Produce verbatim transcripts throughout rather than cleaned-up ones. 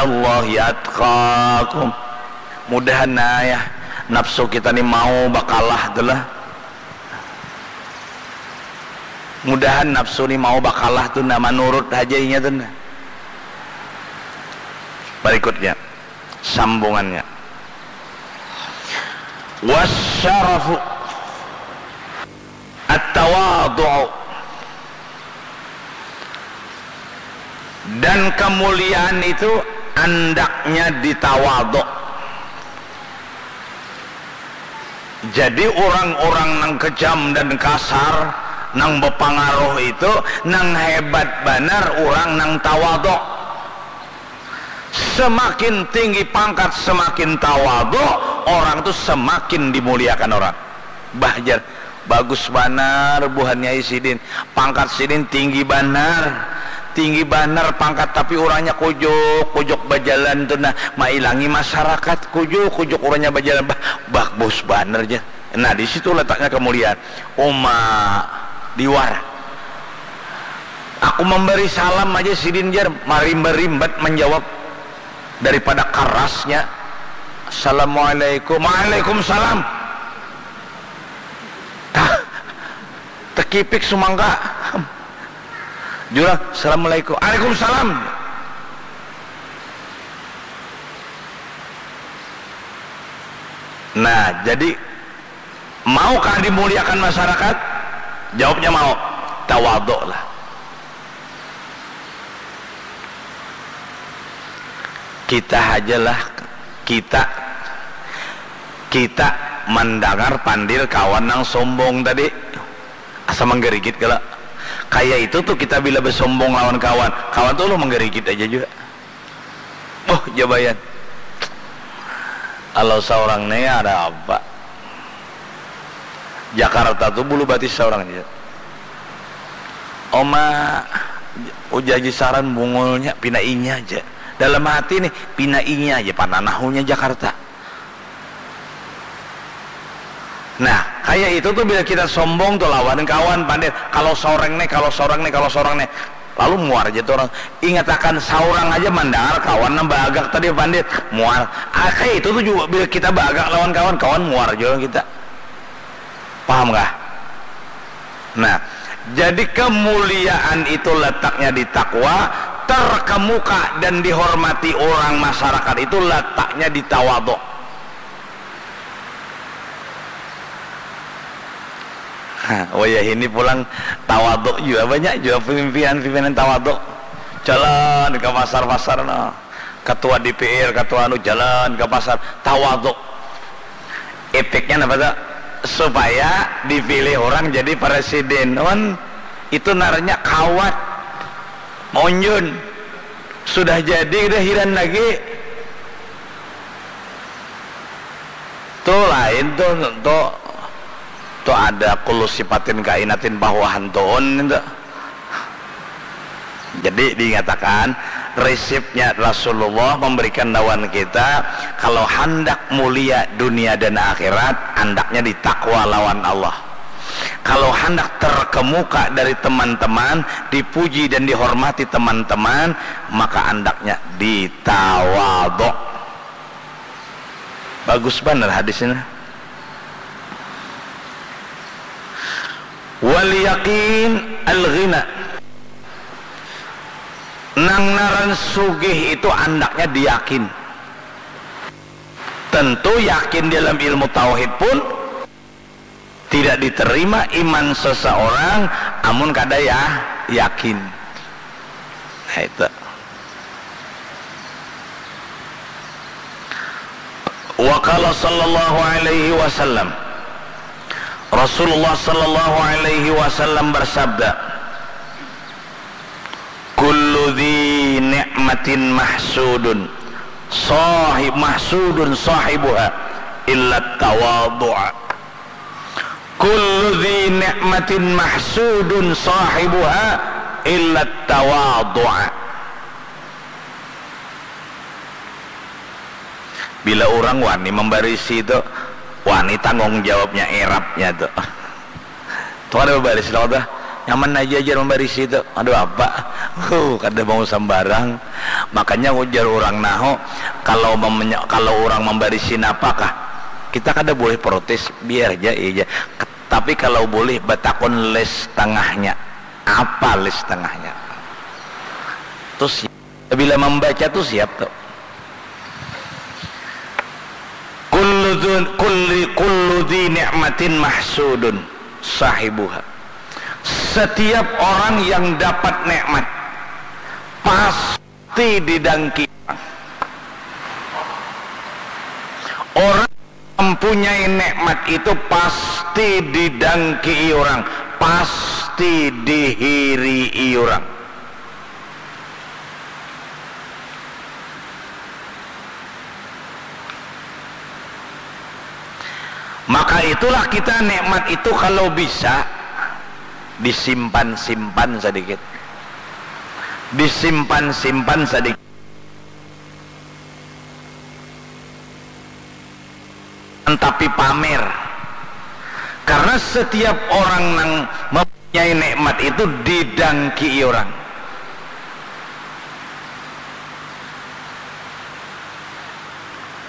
Allahi atqakum. Mudahan nah ya, nafsu kita ni mau bakalah tu lah. Mudahan nafsu ni mau bakalah tu nah, manurut haja inya tu nah. Berikutnya, sambungannya. Wasyarafu at-tawadhu. Dan kemuliaan itu andaknya di tawadhu. Jadi orang-orang nang kejam dan kasar, nang bepangaruh itu, nang hebat banar orang nang tawadhu. Semakin tinggi pangkat, semakin tawadhu, orang tu semakin dimuliakan orang. Bah, jar, bagus banar buhannya sidin. Pangkat sidin tinggi banar. Tinggi banar pangkat, tapi orangnya kujuk, kujuk bajalan tu nah, mailangi masyarakat, kujuk, kujuk orangnya bajalan. Bah, bagus banar, jar. Nah, di situ letaknya kemuliaan. Uma liwar. Aku memberi salam aja sidin, jar, marimba-rimbat menjawab daripada karasnya. Assalamualaikum. Waalaikumsalam. Tah, tekipik sumangka. Jurang, assalamualaikum. Waalaikumsalam. Nah, jadi, maukah dimuliakan masyarakat? Jawabnya mau. Tawadhu lah. Kita hajalah, kita, kita mendengar pandir kawan nang sombong tadi. Asa menggerigit kalo. Kaya itu tuh kita bila besombong lawan kawan, kawan tuh lo menggerigit aja juga. Oh, jabayan. Kalau seorang nih ada apa? Jakarta tuh bulu batis seorang aja. Oma, ujar Haji Saran bungulnya, pina inya aja. Dalam hati nih, pina inya aja, pananahunya Jakarta. Nah, kayak itu tuh bila kita sombong tuh lawan kawan, pandir. Kalau soreng nih, kalau soreng nih, kalau soreng nih. Lalu muar aja tuh orang. Ingatakan saurang aja mandangar kawan nang baagak tadi, pandir. Muar. Ah, kayak itu tuh juga bila kita baagak lawan kawan, kawan muar juga kita. Paham kah? Nah, jadi kemuliaan itu letaknya di takwa, terkemuka dan dihormati orang masyarakat itu letaknya di tawadhu. Hah, wayah ini pulang tawadhu jua, banyak jua pimpinan-pimpinan tawadhu. Jalan ka pasar-pasar, no. Ketua D P R, ketua anu, jalan ka pasar, tawadhu. Efeknya napa tuh? Supaya dipilih orang jadi presiden. Wan, itu ngarannya kawat. Monjun. Sudah jadi, udah hiran lagi. Tuh lain tuh, tuh, tuh ada kulu sipatin kainatin bahwahan tuun itu. Jadi diingatakan, resepnya Rasulullah memberikan lawan kita, kalau handak mulia dunia dan akhirat, andaknya ditakwa lawan Allah. Kalau handak terkemuka dari teman-teman, dipuji dan dihormati teman-teman, maka andaknya ditawadhu. Bagus banar hadis ini. Wal yakin al ghina. Nang ngaran sugih itu andaknya diyakin. Tentu yakin dalam ilmu tauhid pun tidak diterima iman seseorang amun kada ya yakin. Nah, itu. Wa qala sallallahu alaihi wasallam. Rasulullah sallallahu alaihi wasallam bersabda, "Kullu dzi ni'matin mahsudun, sahib, mahsudun sahibuha illa tawadhu'a." Kullu dzi ni'matin mahsudun sahibuha illa tawadhu'a. Bila orang wani membarisi tu, wani tanggung jawabnya, erapnya tu. Tu kada babaris lah tu. Nyaman aja ajar membarisi tu. Aduh apa? Huh, kada mau sambarang. Makanya ujar orang naho, kalau memenya-, kalau orang membarisi napakah? Kita kada boleh protes, biar aja iya aja. Tapi kalau boleh batakun les tengahnya. Apa les tengahnya? Terus bila membaca tu siap tu. Kullu dzun-, kulli-, kullu dzi ni'matin mahsudun sahibuha. Setiap orang yang dapat nikmat pasti didangki orang. Orang mempunyai nikmat itu pasti didangki orang, pasti dihirii orang. Maka itulah kita nikmat itu kalau bisa disimpan-simpan sedikit. Disimpan-simpan sedikit. Tapi pamer. Karena setiap orang nang mempunyai nikmat itu didangki orang.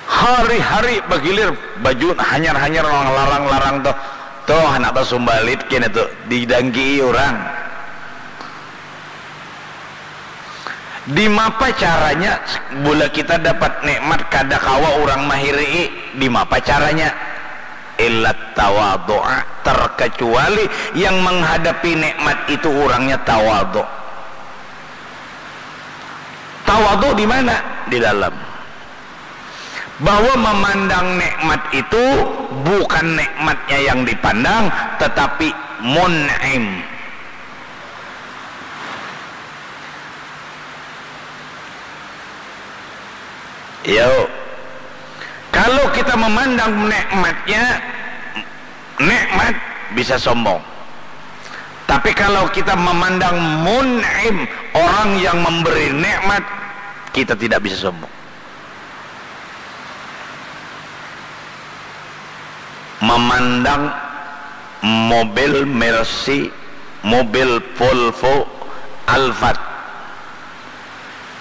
Hari-hari bagilir baju hanyar-hanyar nang larang-larang tuh. Tuh anak basumbalit kena tuh didangki orang. Dimapa caranya bula kita dapat nikmat kada kawa orang mahirii? Dimapa caranya? Illat tawadu'a, terkecuali yang menghadapi nikmat itu orangnya tawadu. Tawadu di mana? Di dalam. Bahwa memandang nikmat itu bukan nikmatnya yang dipandang, tetapi mun'im. Yo, kalau kita memandang nikmatnya, nikmat bisa sombong. Tapi kalau kita memandang mun'im, orang yang memberi nikmat, kita tidak bisa sombong. Memandang mobil Mercy, mobil Volvo, Alphard.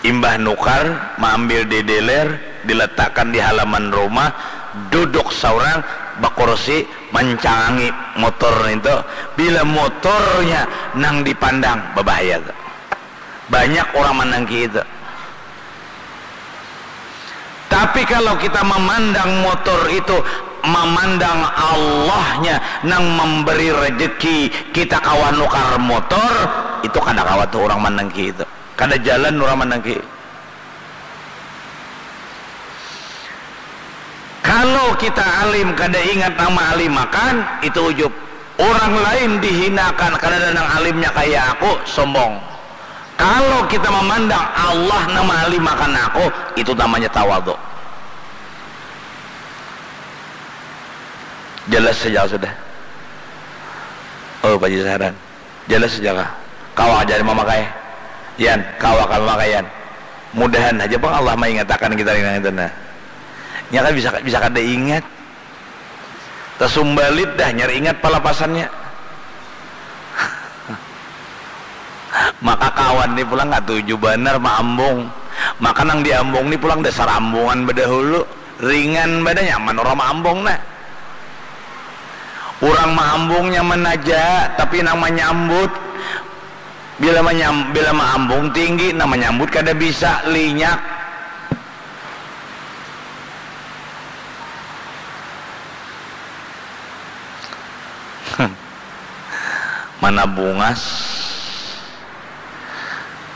Imbah nukar, maambil di dealer, diletakkan di halaman rumah, duduk saurang, bakursi, mancangangi motor nintu. Bila motornya nang dipandang, babahaya tu. Banyak urang mandangki itu. Tapi kalau kita memandang motor itu, memandang Allahnya nang memberi rezeki kita kawa nukar motor, itu kada kawa tuh urang mandangki itu. Kada jalan urang mandangki. Kalau kita alim kada ingat nang maalimakan, itu ujub. Urang lain dihinakan, kadada nang alimnya kaya aku, sombong. Kalau kita memandang Allah nang maalimakan aku, itu namanya tawadu. Jelas saja sudah. Oh, Pak Haji Sahran. Jelas saja kah? Kawa aja mamakai. Yan, kawa kah mamakai, Yan? Mudahan aja pang Allah maingatakan kita nang itu nah. Nya kan bisa, bisa kada ingat. Tasumbalit dah, nyar ingat palapasannya. Maka kawan ni pulang katuju banar maambung. Maka nang diambung ni pulang dasar ambungan badahulu. Ringan banar, nyaman urang maambung nah. Urang maambung nyaman aja, tapi nang manyambut, bila manyam-, bila maambung tinggi, nang manyambut kada bisa, linyak. Mana bungas,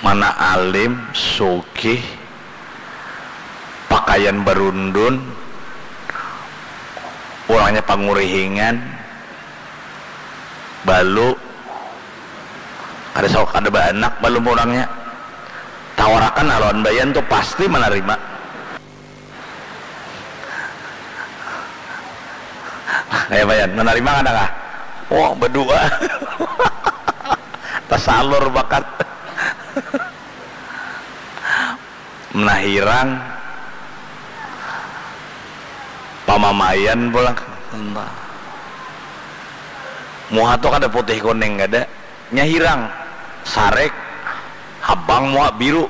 mana alim, sugih, pakaian barundun, urangnya pangurihingan, balu, kada sawa kada baanak balum urangnya. Tawarakan lawan bayan tu pasti manarima. Kaya bayan, manarima kada kah? Oh, badua. Tasalur bakat. Menahirang pamamaian pulang. Muha tu kada putih kuning kada. Nya hirang, sarek, habang muha biru.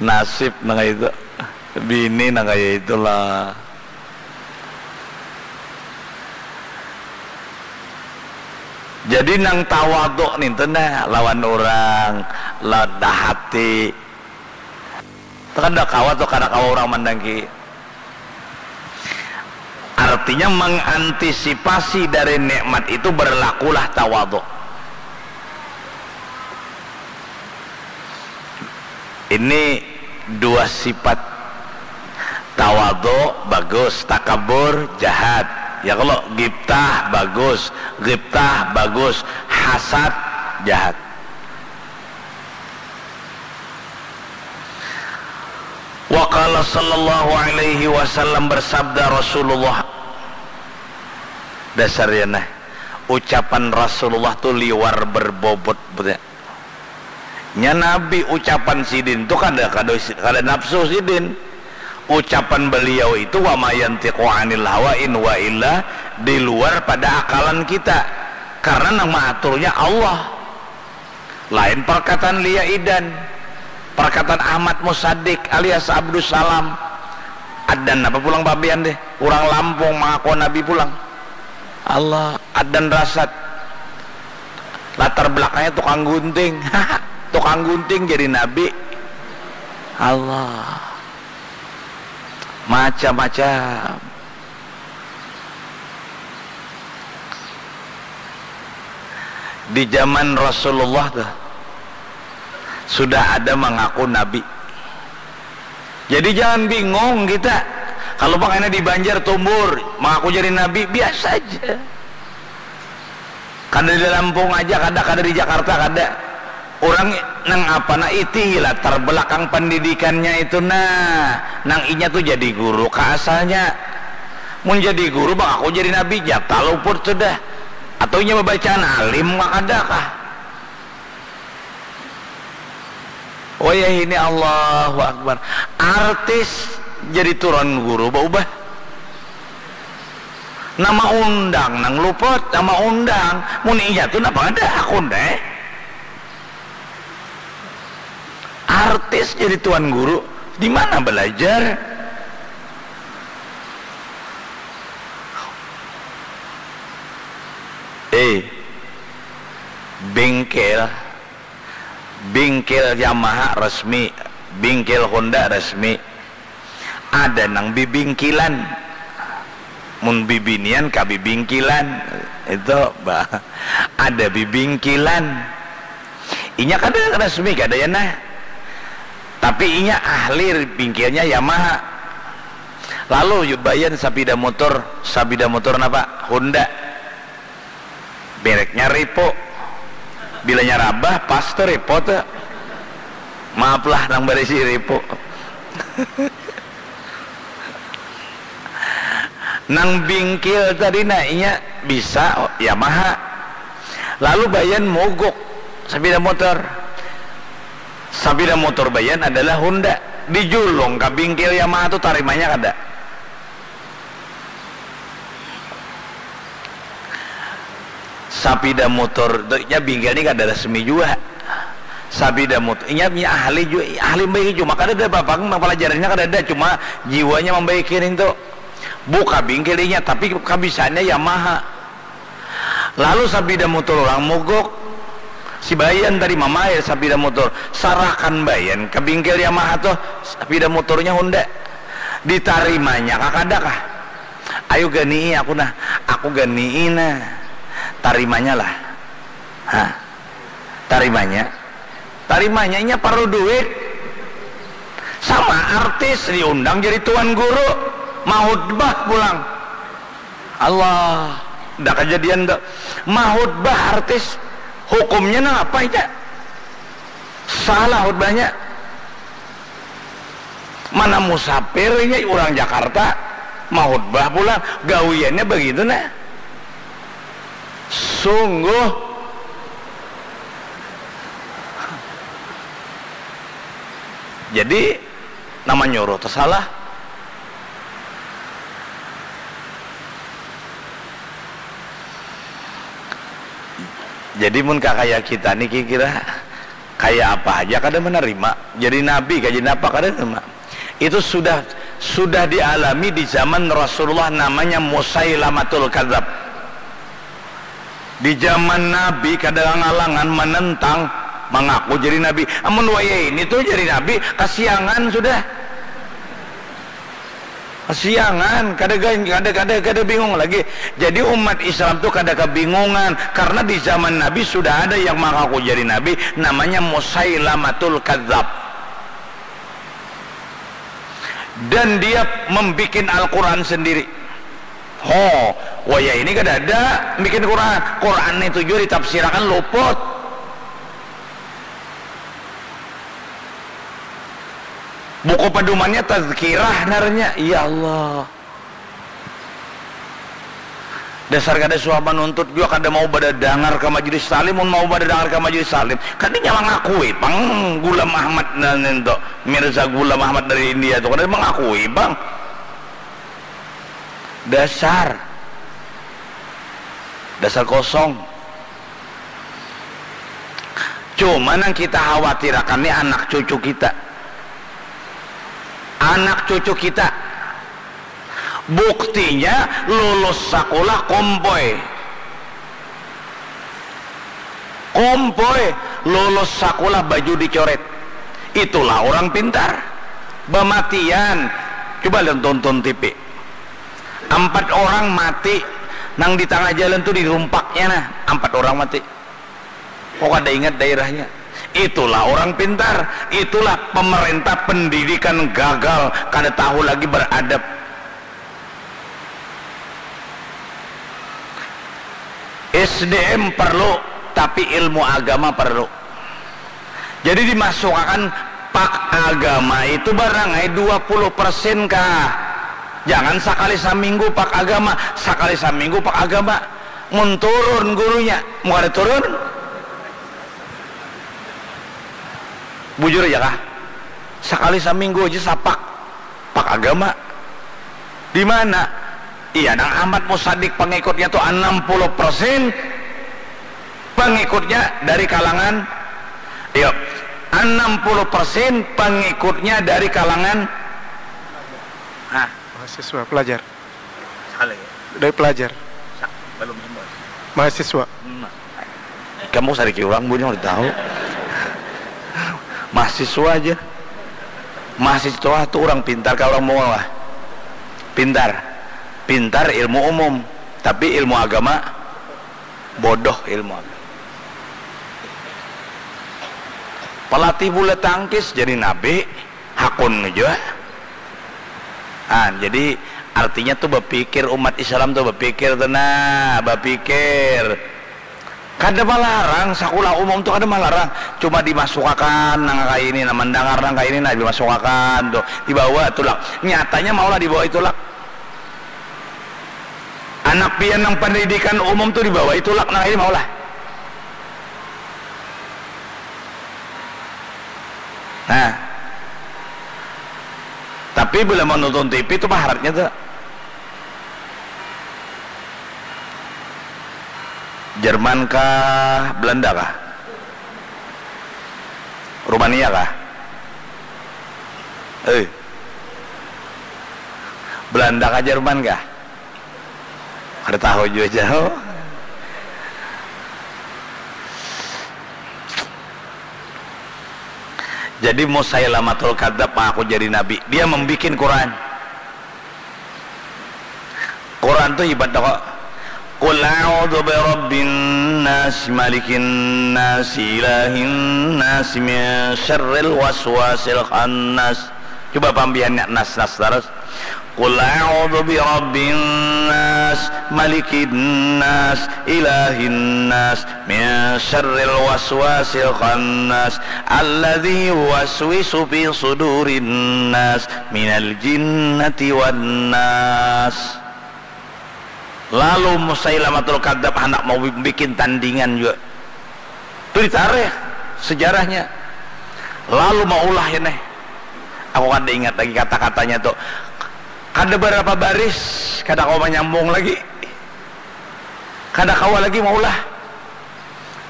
Nasib nang kaya itu, bini nang kaya itulah. Jadi nang tawaduk nintu nah lawan urang, lawan hati. Kada kawa tu, kada kawa urang mandangki. Artinya mengantisipasi dari nikmat itu berlakulah tawaduk. Ini dua sifat. Tawaduk bagus, takabur jahat. Ya kalau gibtah bagus, gibtah bagus, hasad jahat. Wa qala sallallahu alaihi wasallam, bersabda Rasulullah. Dasar ya nah, ucapan Rasulullah tu liwar berbobot, betul. Nya Nabi, ucapan sidin tu kada, kada, kada nafsu sidin. Ucapan beliau itu wa ma yantiqu anil hawa in wa illa di luar pada akalan kita. Karena nang maaturnya Allah. Lain perkataan Lia Idan, perkataan Ahmad Musaddiq alias Abdus Salam. Adan apa pulang papian deh? Urang Lampung mangaku nabi pulang. Allah, adan rasat. Latar belakangnya tukang gunting. Tukang gunting jadi nabi. Allah. Macam-macam. Di zaman Rasulullah tuh sudah ada mengaku nabi. Jadi jangan bingung kita. Kalau pakainya di Banjar Tumbur, mengaku jadi nabi, biasa aja. Kada di Lampung aja, kada, kada di Jakarta, kada. Urang nang apa nah iti latar belakang pendidikannya itu nah, nang inya tuh jadi guru ka asalnya. Mun jadi guru bang aku jadi nabi, jatah luput sudah. Atau inya babacaan alim kah kada kah? Wayah ini Allahu Akbar. Artis jadi turon guru baubah. Nama undang nang luput, nama undang. Mun inya tu napa ada hakun deh. Artis jadi tuan guru, di mana belajar? Eh, bengkel, bengkel Yamaha resmi, bengkel Honda resmi. Ada nang bibingkilan. Mun bibinian ka bibingkilan. Itu bah. Ada bibingkilan. Inya kada resmi kada ya nah. Tapi inya ahli bingkilnya Yamaha. Lalu bayan sapida motor, sapida motor napa? Honda. Bereknya repo. Bilanya rabah pas tu repo tu. Maaflah nang barisi repo. Nang bingkil tadi nah inya bisa Yamaha. Lalu bayan mogok sapida motor. Sapida motor bayan adalah Honda. Dijulung ka bingkil Yamaha tu tarimanya kada? Sapida motor tu inya bingkil ni kada resmi jua. Sapida motor inya punya ahli jua, ahli membaiki cuma kada ada apa nang pelajarannya kada ada, cuma jiwanya membaiki ning tu. Buka bingkil inya tapi kabisaannya Yamaha. Lalu sapida motor orang mogok, si Bayan tadi mamakai sapida motor, sarahkan Bayan ke bingkil Yamaha tuh, sapida motornya Honda. Ditarimanya kah kada kah? Ayu ganii aku nah, aku ganii nah. Tarimanya lah. Ha. Tarimanya. Tarimanya inya parlu duit. Sama artis diundang jadi tuan guru, mahutbah pulang. Allah, dah kejadian tuh. Mahutbah artis, hukumnya nang apa inya? Salah hutbahnya. Mana musafir ini urang Jakarta, mahutbah pulang, gawiannya begitu nah. Sungguh. Jadi nama nyuruh tu salah. Jadi mun kakaya kita ni kira-kira kaya apa haja kada menerima. Jadi nabi kah, jadi napa kada menerima. Itu sudah sudah dialami di zaman Rasulullah, namanya Musailamatul Kadzab. Di zaman Nabi kada ngalangan menentang, mengaku jadi nabi. Amun wayah ini tuh jadi nabi, kasiangan sudah. Kasiangan, kada, kada, kada, kada bingung lagi. Jadi umat Islam tuh kada kebingungan karena di zaman Nabi sudah ada yang mengaku jadi nabi, namanya Musailamatul Kadzab. Dan dia membuat Al-Quran sendiri. Ho, wayah ini kada ada bikin Quran. Quran itu juga ditafsirakan luput. Buku pedomannya tazkirah ngarannya. Ya Allah. Dasar kada suah menuntut juga, kada mau badadangar ke majelis taklim. Mun mau badadangar ke majelis taklim, kada nya mengakui pang Ghulam Ahmad dan itu, Mirza Ghulam Ahmad dari India tuh kada mengakui pang. Dasar. Dasar kosong. Cuma nang kita khawatirakan ni anak cucu kita. Anak cucu kita. Buktinya lulus sakulah kompoi. Kompoi, lulus sakulah baju dicoret. Itulah orang pintar. Bamatian. Coba lihat tonton T V. Ampat orang mati nang di tangah jalan tu dirumpaknya nah. Ampat orang mati. Kok kada ingat daerahnya? Itulah orang pintar. Itulah pemerintah pendidikan gagal, kada tahu lagi beradab. S D M perlu, tapi ilmu agama perlu. Jadi dimasukakan pak agama itu barang ai dua puluh persen kah. Jangan sakali saminggu pak agama, sakali saminggu pak agama. Mun turun gurunya, mau kada turun? Bujur aja kah? Sakali saminggu aja sapak pak agama. Di mana? Iya, nang Ahmad Musadik pengikutnya tuh enam puluh persen pengikutnya dari kalangan, iya, enam puluh persen pengikutnya dari kalangan, nah, mahasiswa, pelajar. Salah ya? Dari pelajar. Sa-, belum semua. Mahasiswa. Hmm. Kamu sariki orang, bunya udah tahu. Mahasiswa aja. Mahasiswa tuh orang pintar kah orang mongol kah? Pintar. Pintar ilmu umum, tapi ilmu agama bodoh ilmu agama. Pelatih bulu tangkis jadi nabi, hakun jua. Ah, jadi artinya tuh bapikir, umat Islam tuh bapikir tuh nah, bapikir. Kada malarang, sakulah umum tu kada malarang. Cuma dimasukakan nang kaya ini, nah, mandangar nang kaya ini, nah, dimasukakan tu. Dibawa tulak. Nyatanya maulah dibawa itulak. Anak pian nang pendidikan umum tu dibawa itulak nang kaya ini maulah. Nah. Tapi bila menonton T V tu paharatnya tu. Jerman kah, Belanda kah? Rumania kah? Eh. Belanda kah, Jerman kah? Kada tahu jua jauh. Jadi Musailamatul Kadzab mengaku jadi nabi. Dia membuat Quran. Quran tu hebat dah kok. Qul a'udzu birabbin nas, malikin nas, ilahin nas, min syarril waswasil khannas. Coba pambihannya nas-nas terus. Qul a'udzu birabbin nas, malikin nas, ilahin nas, min syarril waswasil khannas, alladzi yuwaswisu fi sudurin nas, minal jinnati wan nas. Lalu Musailamatul Kadzab handak mau bikin tandingan juga. Itu ditarikh sejarahnya. Lalu maulah ini. Aku kada ingat lagi kata-katanya tu. Kada berapa baris, kada kawa manyambung lagi. Kada kawa lagi maulah.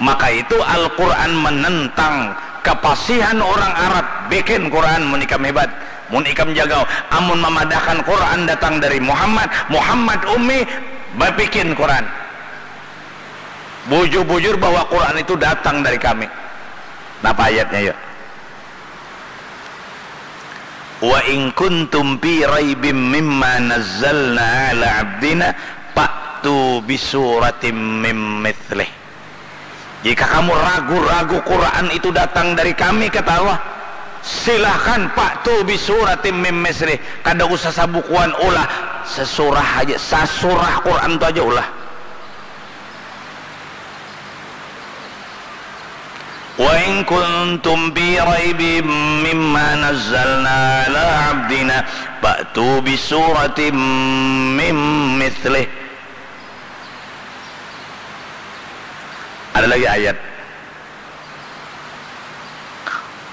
Maka itu Al-Quran menentang kepasihan orang Arab, bikin Quran mun ikam hebat, mun ikam jagau. Amun memadahkan Quran datang dari Muhammad, Muhammad ummi, bapikin Quran. Bujur-bujur bahwa Quran itu datang dari kami. Napa ayatnya, yuk? Wa in kuntum fi raibim mimma nazzalna ala abdina fa'tu bisuratim mim mithlih. Jika kamu ragu-ragu Quran itu datang dari kami, kata Allah, silahkan fa'tu bisuratim mim mithlih. Kada usah sabukuan, ulah sesurah aja, sasurah Quran tu aja ulah. Wa in kuntum fi raibim mimma nazzalna ala abdina fa'tu bisuratim mim mithlih. Ada lagi ayat.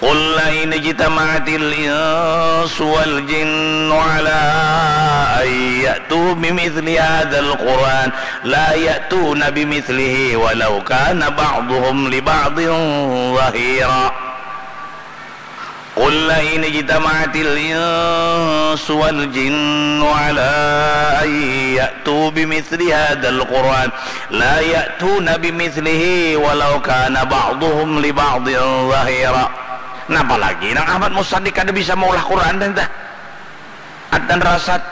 Qul la in ijtama'atil insu wal jinnu ala an ya'tu bimithli hadzal Qur'an la ya'tuna bimithlihi walau kana ba'duhum li ba'din zahira. Qul la in ijtama'atil insu wal jinnu ala an ya'tu bimithli hadzal Qur'an la ya'tuna bimithlihi walau kana ba'duhum li ba'din zahira. Napa lagi nang Ahmad Musaddiq kada bisa maulah Quran dah, dah. Adnan Rasad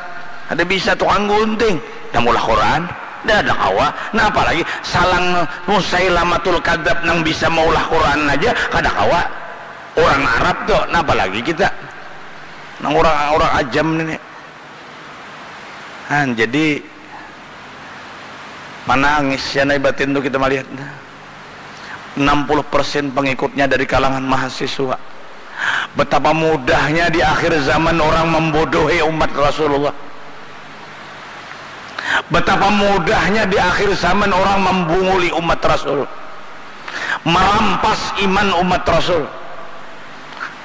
kada bisa, tukang gunting dah maulah Quran, dah ada kawa. Napa lagi salang Musailamatul Kadzab nang bisa maulah Quran aja kada kawa. Orang Arab tu, napa lagi kita nang orang, orang ajam ini. Han, jadi manangis ya nai batin tu kita malihat. Enam puluh persen pengikutnya dari kalangan mahasiswa. Betapa mudahnya di akhir zaman orang membodohi umat Rasulullah. Betapa mudahnya di akhir zaman orang membunguli umat Rasul, merampas iman umat Rasul.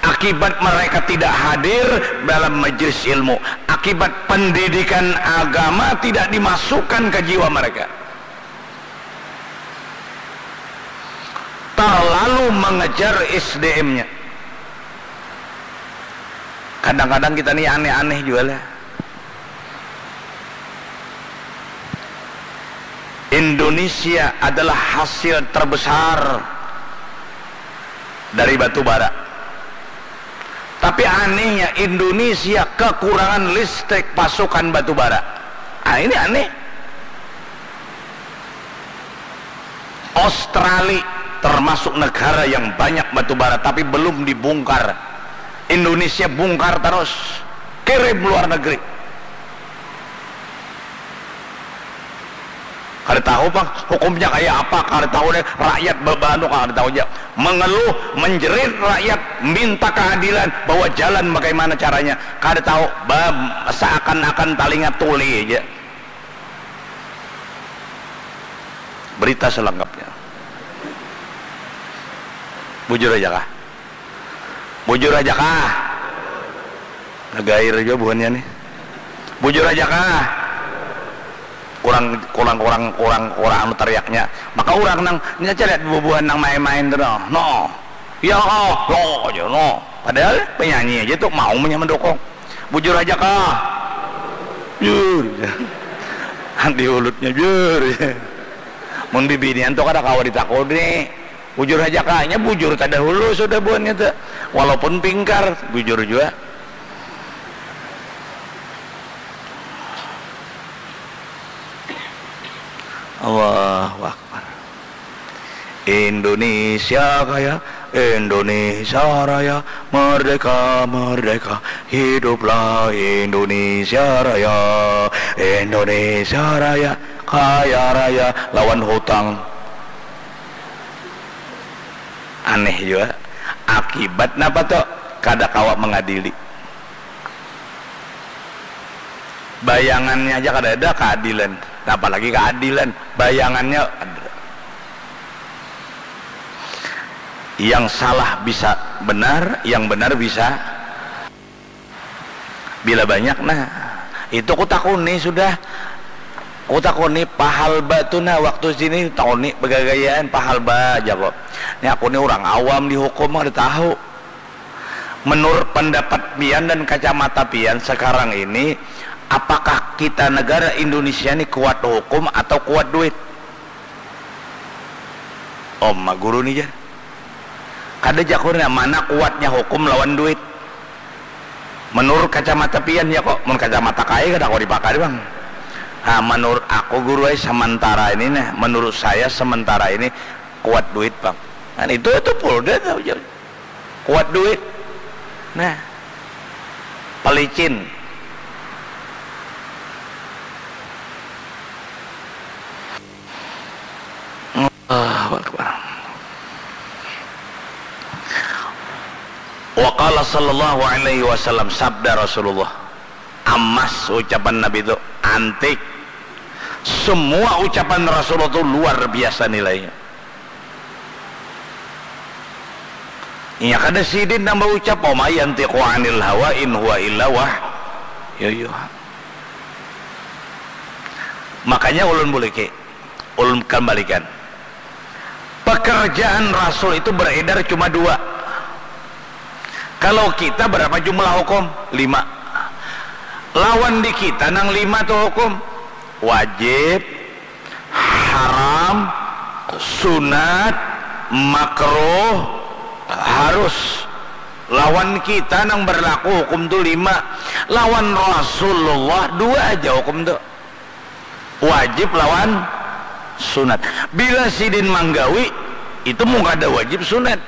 Akibat mereka tidak hadir dalam majelis ilmu, akibat pendidikan agama tidak dimasukkan ke jiwa mereka. Terlalu mengejar S D M-nya. Kadang-kadang kita ni aneh-aneh jua lah. Indonesia adalah hasil terbesar dari batu bara. Tapi anehnya, Indonesia kekurangan listrik pasokan batu bara. Ah, ini aneh. Australia termasuk negara yang banyak batu bara, tapi belum dibongkar. Indonesia bongkar terus, kirim luar negeri. Kada tahu pang hukumnya kaya apa, kada tahu deh. Rakyat bebanu kada tahu aja. Mengeluh, menjerit rakyat, minta keadilan, bahwa jalan bagaimana caranya. Kada tahu, ba-, seakan-akan talinga tuli aja. Berita selengkapnya. Bujur aja kah? Bujur aja kah? Nagair aja buhannya nih. Bujur aja kah? Kurang, kurang, kurang, kurang, kurang anu teriaknya. Maka orang nang, ini aja lihat bubuhan nang main-main tuh, no. No. Ya, oh, no, aja, no. Padahal penyanyi aja tuh mau punya mendukung. Bujur aja kah? Jur. Di ulutnya, jur. Mun bibinian tuh kada kawa ditakuni. Bujur aja kah? Nya bujur tadahulu sudah buhannya tuh. Walaupun pingkar, bujur jua. Allahu Akbar. Indonesia Kaya, Indonesia Raya, merdeka, merdeka, hiduplah Indonesia Raya, Indonesia Raya, kaya raya lawan hutang. Aneh jua. Akibat napa tu? Kada kawa mengadili. Bayangannya aja kada ada keadilan, apalagi keadilan. Bayangannya ada. Yang salah bisa benar, yang benar bisa. Bila banyak, nah, itu ku takuni sudah. Ku takuni pahalba tu nah, waktu sini takuni begagayaan pahalba, jaku. Ni aku ni urang awam di hukum, kada tahu. Menurut pendapat pian dan kacamata pian sekarang ini, apakah kita negara Indonesia ni kuat hukum atau kuat duit? Om guru ni jar. Kada, jaku, nah, mana kuatnya hukum lawan duit? Menurut kacamata pian ya kok, mun kacamata kai kada kawa dipakai bang. Nah, menurut aku guru ai sementara ini nah, menurut saya sementara ini kuat duit bang. Kan itu itu Polda tahu jauh. Kuat duit. Nah, pelicin. Allahu Akbar. Wa qala sallallahu alaihi wasallam, sabda Rasulullah, emas ucapan Nabi itu, antik. Semua ucapan Rasulullah itu luar biasa nilainya. Inya kada sidin nang baucap, wa ma yantiqu anil hawa in huwa illa wah, yo, yo. Makanya ulun buliki, ulun kembalikan. Pekerjaan Rasul itu beredar cuma dua. Kalau kita berapa jumlah hukum? Lima. Lawan di kita nang lima tu hukum. Wajib, haram, sunat, makruh, harus. Lawan kita nang berlaku hukum tu lima. Lawan Rasulullah dua aja hukum tu. Wajib lawan sunat. Bila sidin manggawi, itu mun kada wajib sunat.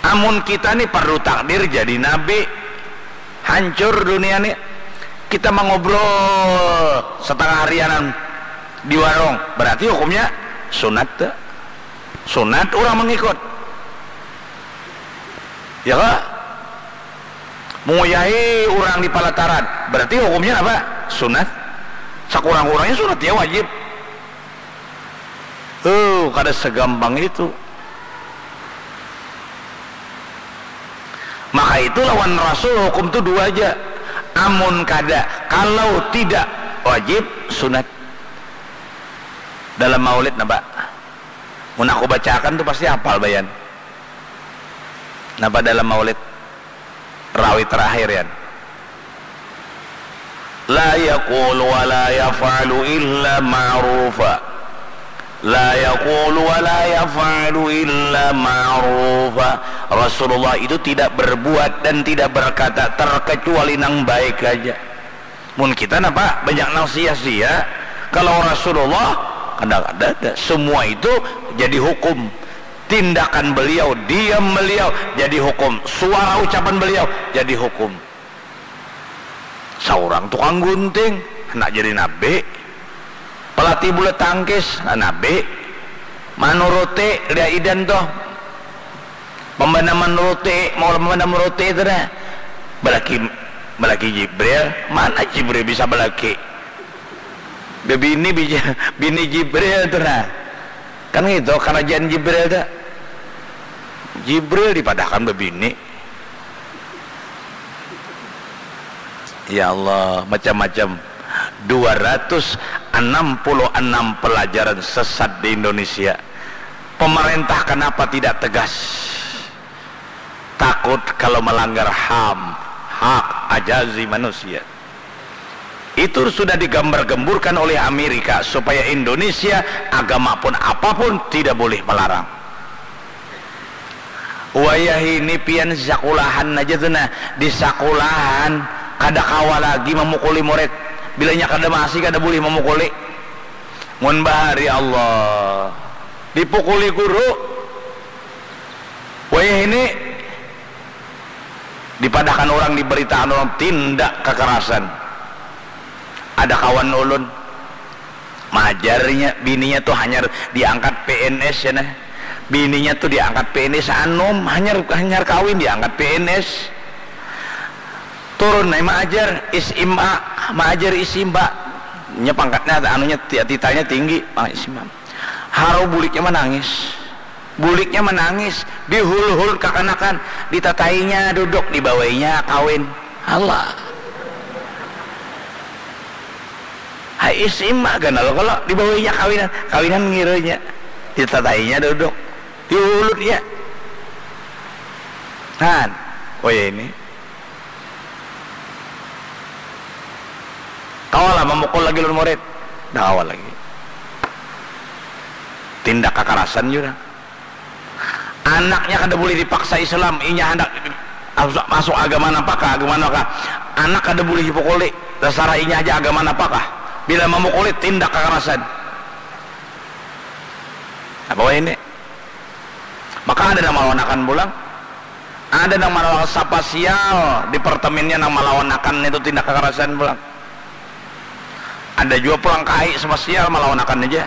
Amun kita ni parlu takdir jadi nabi, hancur dunia ni. Kita mangobrol setengah harianan di warung, berarti hukumnya sunat tu. Sunat urang mangikut. Ya kah? Munguyahi urang di palataran, berarti hukumnya apa? Sunat. Sakurang-kurangnya sunat ya wajib. Oh, kada segampang itu. Maka itu lawan Rasul hukum tu dua aja. Amun kada, kalau tidak wajib, sunat. Dalam maulid napa? Mun aku bacakan tu pasti hafal bayan. Napa dalam maulid? Rawi terakhir yan. La yaqulu wa la yaf'alu illa ma'rufa. La yaqulu wa la yaf'alu illa ma'rufa. Rasulullah itu tidak berbuat dan tidak berkata terkecuali nang baik aja. Mun kita napa banyak nang sia-sia. Kalau Rasulullah kada ada, ada. Semua itu jadi hukum. Tindakan beliau, diam beliau jadi hukum. Suara ucapan beliau jadi hukum. Saurang tukang gunting, handak jadi nabi. Pelatih bulu tangkis, handak nabi. Manuruti, lihat idan tuh. Pembana manuruti, mau pembana manuruti itu dah. Belaki, belaki Jibril, mana Jibril bisa belaki? Bebini bija, bini Jibril tu nah. Kan ngitu karajaan Jibril tu. Jibril dipadahkan bebini. Ya Allah, macam-macam. Dua ratus enam puluh enam pelajaran sesat di Indonesia. Pemerintah kenapa tidak tegas? Takut kalau melanggar ham, hak ajazi manusia. Itu sudah digambar-gemburkan oleh Amerika supaya Indonesia, agama pun apapun, tidak boleh melarang. Wayah ini pian sakulahan aja tu nah, di sakulahan kada kawa lagi mamukuli murid. Bilanya kada masih kada boleh mamukuli. Mun bahari Allah, dipukuli guru. Wayah ini dipadahkan orang, diberitakan orang tindak kekerasan. Ada kawan ulun, majarnya bininya tuh hanyar diangkat P N S ya nah. Bininya tuh diangkat P N S, anum, hanyar, hanyar kawin diangkat P N S. Turun nih maajar S M A, maajar S M A. Nya pangkatnya, anunya, ti-, titelnya tinggi, ah, S M A. Haru buliknya manangis. Buliknya manangis, dihul-hul kakanakan, ditatainya duduk, dibawainya kawin. Allah. Ai, S M A ganal kalo dibawinya kawinan, kawinan ngiranya, ditatainya duduk, diulutnya. Han, oh ya ini. Kawa lah mamukul lagi ulun murid? Dah kawa lagi. Tindak kakarasan jua. Anaknya kada bulih dipaksa Islam, inya handak masuk, masuk agama napa kah, agama napa kah. Anak kada bulih dipukuli, tasarah inya haja agama napa kah. Bila mamukuli, tindak kakarasan. Apa wahini? Maka ada nang malawanakan pulang. Ada nang malawanakan sapa sial di perteminnya nang malawanakan itu tindak kakarasan pulang. Ada jua pulang kai sapa sial malawanakan aja.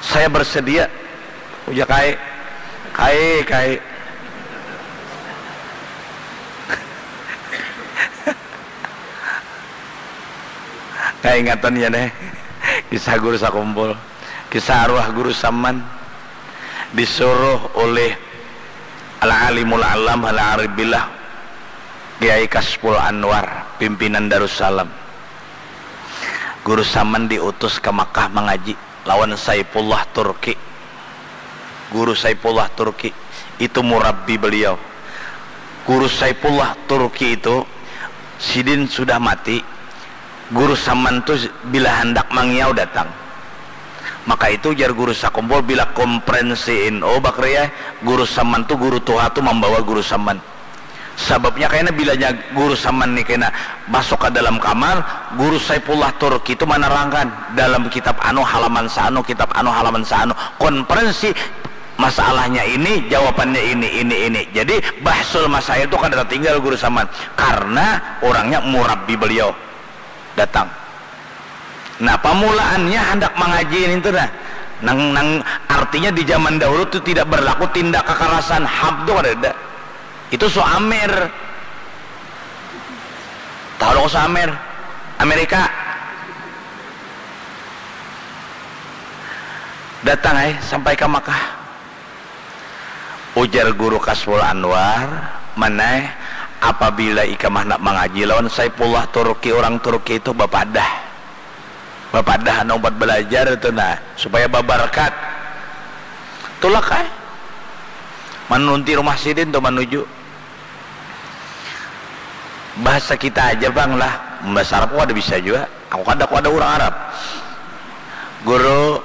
Saya bersedia, ujar kai. Kai, kai. Kaingatan ya neh, kisah guru sakumpul, kisah arwah guru Saman disuruh oleh Al-Alimul Alam Al-Arif Billah Kiai Kasful Anwar, pimpinan Darussalam. Guru Saman diutus ka Makkah mangaji lawan Saifullah Turki. Guru Saifullah Turki itu murabbi beliau. Guru Saifullah Turki itu sidin sudah mati. Guru Saman tu bila handak mangiau datang. Maka itu jar guru sakumpul, bila komprensi N U bakriah, guru Saman tu guru tuha tu mambawa guru Saman. Sababnya kaina bilanya guru Saman ni kaina masuk ka dalam kamar, guru Saifullah Turki tu manarangkan dalam kitab anu halaman saanu, kitab anu halaman saanu, konferensi masalahnya ini, jawabannya ini, ini, ini. Jadi bahsul masail tu kada tatinggal guru Saman karna urangnya murabbi beliau datang. Nah, pamulaannya handak mangaji nintu nah. Nang, nang artinya di zaman dahulu tu tidak berlaku tindak kakarasan, ham tu kadada. Itu Suamer. Tahu dong Suamer? Amerika. Datang ai sampai ka Makkah. Ujar Guru Kasful Anwar, Maneh, apabila ikam handak mangaji lawan Saifullah Turki, urang Turki itu bapadah. Bapadah anu umpat balajar itu nah, supaya babarkat. Tulak ai. Manunti rumah sidin tu manuju. Bahasa kita aja bang lah, bahasa Arab kada bisa jua. Aku kada, aku kada urang Arab. Guru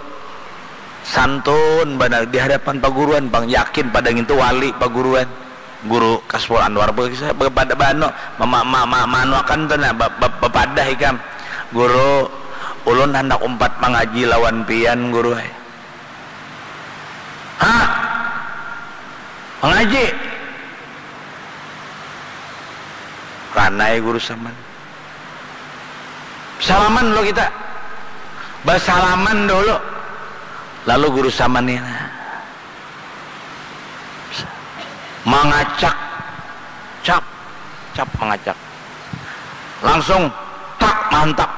santun banar di hadapan paguruan, bang yakin pada ngintu wali paguruan. Guru Kasful Anwar be-, be-, pada banu, ma-, ma-, ma-, ma-, manuakan tu nah, ba-, ba-, bapadah ikam. Guru, ulun handak umpat mangaji lawan pian, Guru ai. Ha? Mangaji? Ranai guru Saman. Salaman dulu kita. Basalaman dulu. Lalu guru Saman ni, nah. Mangacak. Cap. Cap mangacak. Langsung tak mantap.